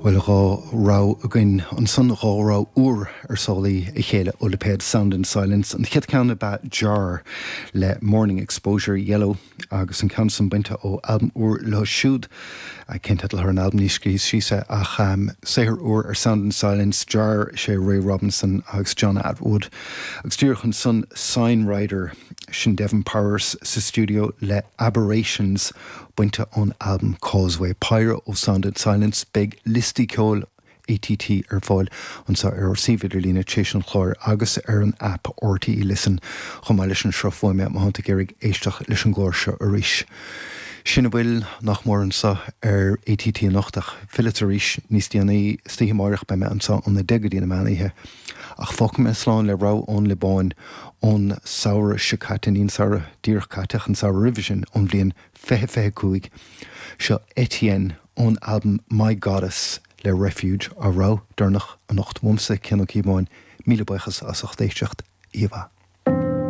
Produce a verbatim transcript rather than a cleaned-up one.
Bhuel dhá rogha againn ansan dhá rogha úr ar sálaí a chéile ó lipéad Sound and Silence. An chéad cheann ab ea Jar le Morning Exposure Yellow agus an ceann san bainte ó albam úr leo siúd cén teideal ar an albam ní scríos síos é ach um, saothar úr ar Sound and Silence Jar sé Ray Robinson agus John Atwood agus díreach ansan Sign Rider sin Devon Powers sa studio le Aberrations bainte ón albam Causeway Péire ó Sound and Silence beidh liostaí ceoil ATT ar fáil anseo ar ár suíomh idirlíne tar éis an chláir agus ar an app RTE Listen chomh maith leis an sruth fuaime má tá tú ag iarraidh éisteacht leis an gclár seo arís. Sin a bhfuil nach mór anseo ar ATT anocht ach fillfead arís níos déanaí istoíche amárach beidh mé anseo óna deich go dtí na meánoíche. Ach fágfaidh mé slán le rogha ón Liobáin ón samhradh seo caite ní an samhradh díreach caite an samhradh roimhe sin ón bhliain fiche fiche cúig seo Etienne ón albam My Goddess le Refuge a rogha deireanach anocht uaimse Cian Ó Cíobháin míle buíochas as ucht éisteacht íomh.